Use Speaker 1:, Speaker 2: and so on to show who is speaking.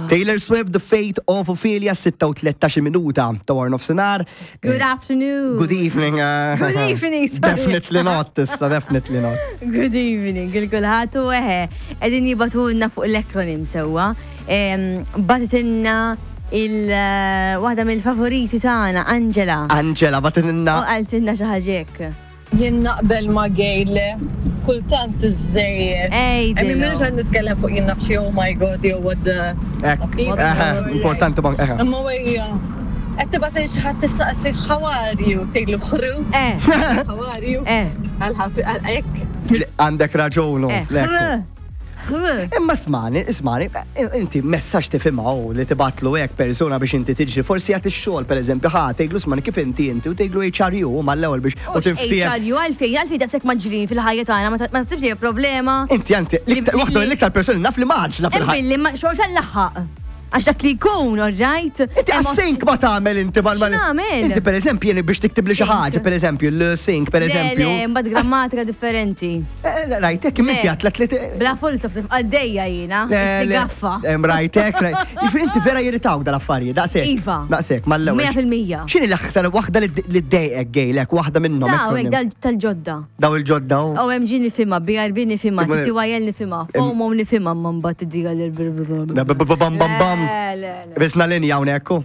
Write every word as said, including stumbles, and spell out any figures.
Speaker 1: Taylor Swift, The Fate of Ophelia, sitta u tlettax minuta ta' wara nofsinhar.
Speaker 2: Good afternoon.
Speaker 1: Good evening. uh,
Speaker 2: Good evening, sorry.
Speaker 1: Definitely not, issa, definitely not.
Speaker 2: Good evening, il-kulħadd u eħe, qegħdin jibagħtulna fuq l-acronym sewwa. Bagħtitilna il-waħda mill-favoriti tagħna, Angela.
Speaker 1: Angela,
Speaker 2: U
Speaker 1: bagħtitilna.
Speaker 2: qaltilna xi ħaġa hekk.
Speaker 3: Jien naqbel ma' Gayle, kultant iżżejjed.
Speaker 2: Ej,
Speaker 3: I mean,
Speaker 2: Dilo.
Speaker 3: minux għan nitkellem fuq jien naf xi, oh my God, yo, what the.
Speaker 1: Ek, eħe, importanti ma' eħe.
Speaker 3: Imma wejja, qed tibgħat xi ħadd tistaqsi "How are you?" Tgħidlu "Ħru".
Speaker 2: Eh,
Speaker 3: "How are you?"
Speaker 2: eh,
Speaker 3: Għal għal hekk.
Speaker 1: Għandek raġunu.
Speaker 2: eh.
Speaker 1: Lekku.
Speaker 2: Ħru. Ħru.
Speaker 1: Imma smani, ismani, inti messaġġ tifhimha u li tibgħatlu hekk persuna biex inti tiġri, forsi jagħti x-xogħol, pereżempju, ħa tgħidlu "Smani, kif inti inti?" u tgħidlu "H R U" mal-ewwel biex u tinftiehem.
Speaker 2: H R U, għalfejn, għalfejn daqshekk maġrin fil-ħajja tagħna, ma ta- ma tasibx li hija problema.
Speaker 1: Inti anti, l-iktar-
Speaker 2: Li-
Speaker 1: waħda
Speaker 2: li-
Speaker 1: mill-iktar persuni naf li maġla fil-ħajja.
Speaker 2: Billi ma xorta l-laħaq. Għax dak li jkun, all right?
Speaker 1: Inti għas-sync ma tagħmel inti mal mal-
Speaker 2: X'nagħmel?
Speaker 1: Inti per eżempju jien biex tiktib li xi
Speaker 2: Sync.
Speaker 1: ħaġa, per eżempju, l-sync per eżempju.
Speaker 2: Le, le, mbagħad grammatika differenti.
Speaker 1: Eh, Rajtek, inti
Speaker 2: Le.
Speaker 1: għatlet li
Speaker 2: Bla full stop għaddejja jiena, gaffa.
Speaker 1: Rajtek, rajt. Jiġifieri inti vera jirritawk dal-affarijiet, daqshekk.
Speaker 2: Iva.
Speaker 1: Daqshekk, mal-ewwel.
Speaker 2: Mija fil-mija.
Speaker 1: X'inhi l-aktar waħda li li ddejqek, gejlek, waħda minnhom?
Speaker 2: Daw,
Speaker 1: acronym?
Speaker 2: hekk tal-ġodda.
Speaker 1: Daw il-ġodda. u-
Speaker 2: O M G nifhimha, B R B nifhimha,
Speaker 1: Imma-
Speaker 2: T T Y L nifhimha, FOMO nifhimha, ma mbagħad tiddiga l
Speaker 1: Da- b- b- Bam bam bam.
Speaker 2: Le, le, le.
Speaker 1: Bisna linja hawnhekk.